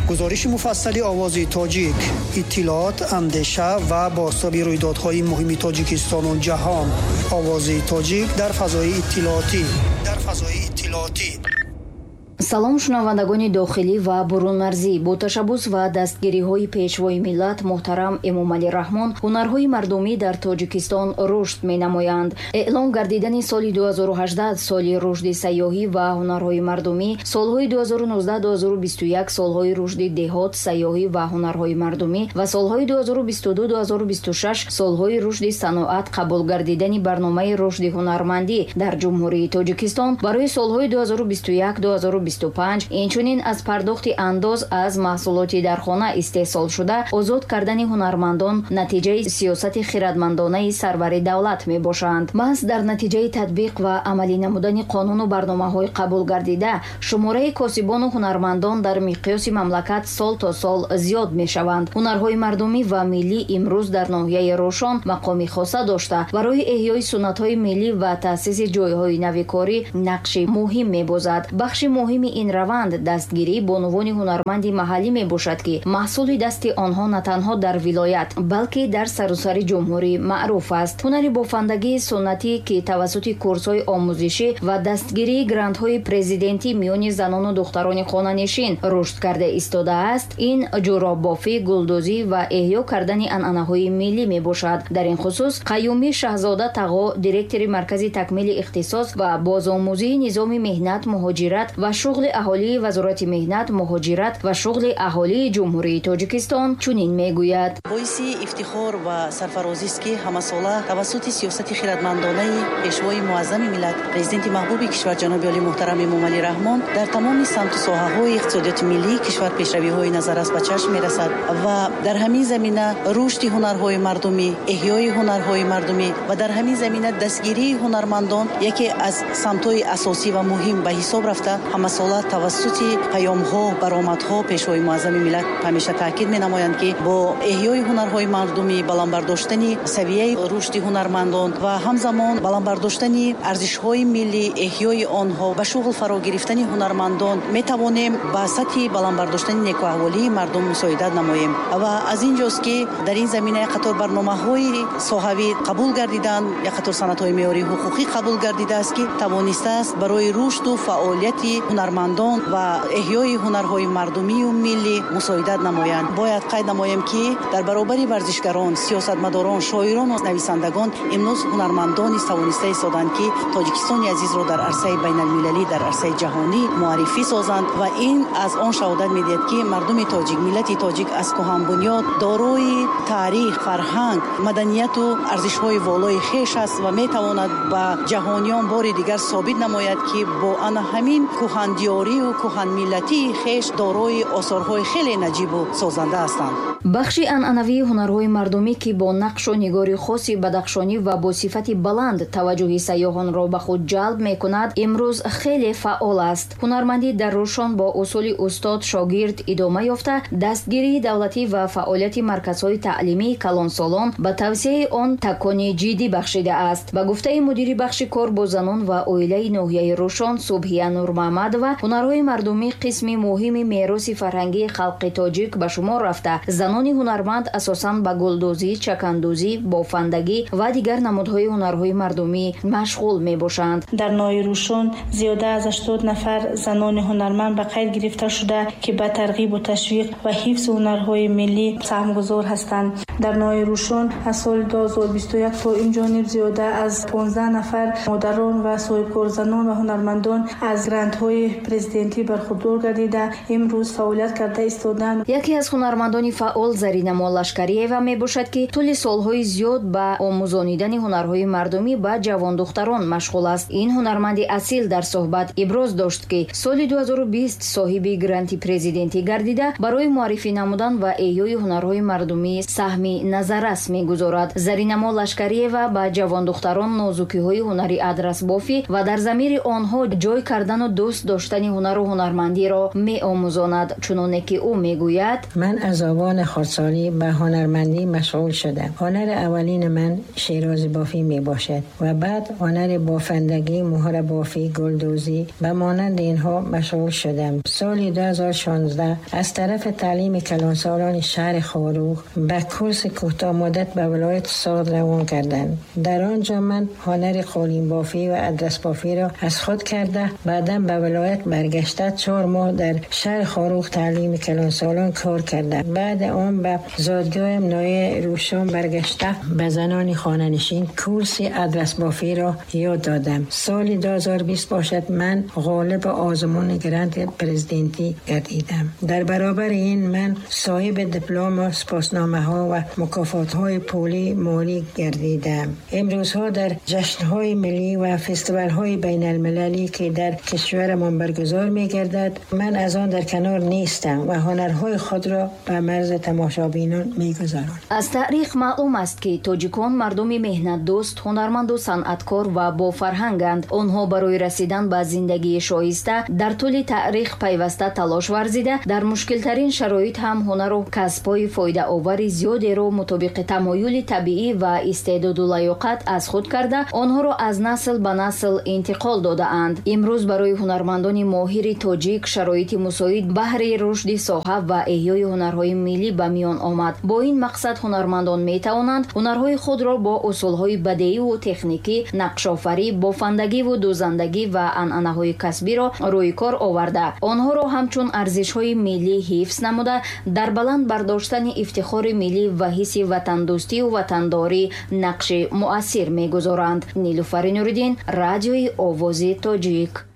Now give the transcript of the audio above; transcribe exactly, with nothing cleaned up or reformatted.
Гузориши муфассали Овози Тоҷик, иттилоот, андеша ва бозтоби рӯйдодҳои муҳими Тоҷикистону ҷаҳон. Овози Тоҷик дар фазои иттилоотӣ. Дар фазои иттилоотӣ. Салом шунавандагони дохилӣ ва бурунмарзӣ. Бо ташаббус ва дастгириҳои Пешвои миллат муҳтарам Эмомалӣ Раҳмон ҳунарҳои мардумӣ дар Тоҷикистон рушд менамоянд. Эълон гардидани соли ду ҳазору ҳаждаҳ соли рушди сайёҳӣ ва ҳунарҳои мардумӣ, солҳои ду ҳазору нуздаҳ ду ҳазору бисту як солҳои рушди деҳот, сайёҳӣ ва ҳунарҳои мардумӣ ва солҳои ду ҳазору бисту ду ду ҳазору бисту шаш солҳои рушди саноат қабул гардидани барномаи рушди ҳунармандӣ дар Ҷумҳурии Тоҷикистон барои солҳои ду ҳазору бисту як ду ҳазору бисту панҷ, инчунин аз пардохти андоз аз маҳсулоти дар хона истеҳсолшуда озод кардани ҳунармандон натиҷаи сиёсати хирадмандонаи сарвари давлат мебошанд. Маҳз дар натиҷаи татбиқ ва амалӣ намудани қонуну барномаҳои қабул гардида шумораи косибону ҳунармандон дар миқёси мамлакат сол то сол зиёд мешаванд. Ҳунарҳои мардумӣ ва миллӣ имрӯз дар ноҳияи Рӯшон мақоми хоса дошта, барои эҳёи суннатҳои миллӣ ва таъсиси ҷойҳои нави корӣ нақши муҳим мебозад. Бахши муҳими ин раванд дастгирии бонувони ҳунарманди маҳаллӣ мебошад, ки маҳсули дасти онҳо на танҳо дар вилоят, балки дар саросари ҷумҳурӣ маъруф аст. Ҳунари бофандагии суннатӣ, ки тавассути курсҳои омӯзишӣ ва дастгирии грантҳои президентӣ миёни занону духтарони хонанишин рушд карда истодааст, ин ҷӯроббофӣ, гулдӯзӣ ва эҳё кардани анъанаҳои миллӣ мебошад. Дар ин хусус Қаюмӣ Шаҳзода Тағо, директори Маркази такмили ихтисос ва бозомӯзии низоми меҳнат, муҳоҷират ва шуғли аҳолии Вазорати меҳнат, муҳоҷират ва шуғли аҳолии Ҷумҳурии Тоҷикистон чунин мегӯяд. Боиси ифтихор ва сарфарозист, ки ҳамасола тавассути сиёсати хирадмандонаи Пешвои муаззами миллат, Президенти маҳбуби кишвар ҷаноби олӣ муҳтарам Эмомалӣ Раҳмон дар тамоми самту соҳаҳои иқтисодиёти миллии кишвар пешравиҳои назаррас ба чашм мерасад ва дар ҳамин замина рушди ҳунарҳои мардумӣ, эҳёи ҳунарҳои мардумӣ ва дар ҳамин замина дастгирии ҳунармандон яке аз самтҳои асосӣ ва муҳим ба ҳисоб рафта, ҳамасола тавассути паёмҳо, баромадҳо Пешвои муаззами миллат ҳамеша таъкид менамоянд, ки бо эҳёи ҳунарҳои мардумӣ, баланд бардоштани савияи рушди ҳунармандон ва ҳамзамон баланд бардоштани арзишҳои миллӣ, эҳёи онҳо, ба шуғл фаро гирифтани ҳунармандон метавонем ба сатҳи баланд бардоштани некӯаҳволии мардум мусоидат намоем. Ва аз ин ҷост, ки дар ин замина як қатор барномаҳои соҳавӣ қабул гардиданд, як қатор санадҳои меъёрии ҳуқуқӣ қабул гардидааст, ки тавонистааст барои рушду фаъолияти ҳунармандон ва эҳёи ҳунарҳои мардумию миллӣ мусоидат намоянд. Бояд қайд намоем, ки дар баробари варзишгарон, сиёсатмадорон, шоирон ва нависандагон имрӯз ҳунармандон низ тавониста истоданд, ки Тоҷикистони азизро дар арсаи байналмилалӣ, дар арсаи ҷаҳонӣ муаррифӣ созанд ва ин аз он шаҳодат медиҳад, ки мардуми тоҷик, миллати тоҷик аз кӯҳанбунёд дорои таърих, фарҳанг, маданияту арзишҳои волои хеш аст ва метавонад ба ҷаҳониён бори дигар собит намояд, ки бо ана ҳамин кӯҳандиёрию кӯҳанмиллатии хеш дорои осорҳои хеле наҷибу созанда ҳастанд. Бахши анъанавии ҳунарҳои мардумӣ, ки бо нақшу нигори хоси бадахшонӣ ва бо сифати баланд таваҷҷӯҳи сайёҳонро ба худ ҷалб мекунад, имрӯз хеле фаъол аст. Ҳунармандӣ дар Рӯшон бо усули устод шогирд идома ёфта, дастгирии давлатӣ ва фаъолияти марказҳои таълимии калонсолон ба тавсияи он такони ҷиддӣ бахшидааст. Ба гуфтаи мудири бахши кор бо занон ва оилаи ноҳияи Рӯшон Субҳия Нурмаҳмадова, ҳунарҳои мардумӣ қисми муҳими мероси фарҳангии халқи тоҷик ба шумор рафта, занони ҳунарманд асосан ба гулдӯзӣ, чакандӯзӣ, бофандагӣ ва дигар намудҳои ҳунарҳои мардумӣ машғул мебошанд. Дар ноҳияи Рӯшон зиёда аз ҳаштод нафар занони ҳунарманд ба қайд гирифта шуда, ки ба тарғибу ташвиқ ва ҳифзи ҳунарҳои миллӣ саҳмгузор ҳастанд. Дар ноҳияи Рӯшон аз соли ду ҳазору бисту як то ин ҷониб зиёда аз понздаҳ нафар модарон ва соҳибкорзанон ва ҳунармандон аз грантҳои президентӣ бархурдор гардида, имрӯз фаъолият карда истоданд. Яке аз ҳунармандони фаъол Зарина Моллашкариева мебошад, ки тӯли солҳои зиёд ба омӯзонидани ҳунарҳои мардумӣ ба ҷавондухтарон машғул аст. Ин ҳунарманди асил дар суҳбат иброз дошт, ки соли ду ҳазору бист соҳиби гранти президентӣ гардида, барои муаррифӣ намудан ва эҳёи ҳунарҳои мардумӣ саҳми саҳми назаррас мегузорад. Заринамо Лашкариева ба ҷавондухтарон нозукиҳои ҳунари адрасбофӣ ва дар замири онҳо ҷой кардану дӯст доштани ҳунару ҳунармандиро меомӯзонад. Чуноне ки ӯ мегӯяд: ман аз овони хурдсолӣ ба ҳунармандӣ машғул шудам. ҳунари аввалини ман шерозибофӣ мебошад ва баъд ҳунари бофандагӣ, муҳрабофӣ, гулдӯзӣ ба монанди инҳо машғул шудам. соли ду ҳазор шонздаҳ аз тарафи таълими калонсолони шаҳри Хоруғ ба курси кӯтоҳмуддат ба вилояти Суғд равон карданд. дар он ҷо ман ҳунари қолинбофӣ ва адрасбофиро аз худ карда, баъдан ба вилоят баргашта чор моҳ дар шаҳри Хоруғ таълими калонсолон кор кардам. баъд он ба зодгоҳам ноҳияи Рӯшон баргашта ба занони хонанишин курси адрасбофиро ёд додам. соли ду ҳазор бист бошад ман ғолиби озмуни гранти президентӣ гардидам. дар баробари ин ман соҳиби диплом ва сипосномаҳо ва мукофотҳои пулӣ молӣ гардидам. имрӯзҳо дар ҷашнҳои миллӣ ва фестивалҳои байналмилалӣ ки дар кишварамон баргузор мегардад, ман аз он дар канор нестам ва ҳунарҳои худро ба марзи тамошобинон мегузаронам. Аз таърих маълум аст, ки тоҷикон мардуми меҳнатдӯст, ҳунарманду санъаткор ва бофарҳанганд. Онҳо барои расидан ба зиндагии шоиста дар тӯли таърих пайваста талош варзида, дар мушкилтарин шароит ҳам ҳунару касбҳои фоидаовари зиёдеро мутобиқи тамоюли табиӣ ва истеъдоду лаёқат аз худ карда, онҳоро аз насл ба насл интиқол додаанд. Имрӯз барои ҳунармандони моҳири тоҷик шароити мусоид баҳри рушди соҳа ва эҳёи ҳунарҳои миллӣ ба миён омад. Бо ин мақсад ҳунармандон метавонанд ҳунарҳои худро бо усулҳои бадеиву техникӣ, нақшофарӣ, бофандагиву дӯзандагӣ ва анъанаҳои касбиро рӯи кор оварда, онҳоро ҳамчун арзишҳои миллӣ ҳифз намуда, дар баланд бардоштани ифтихори миллӣ ва ҳисси ватандӯстию ватандорӣ нақши муассир мегузоранд. Нилуфари Нуриддин, радиои Овози Тоҷик.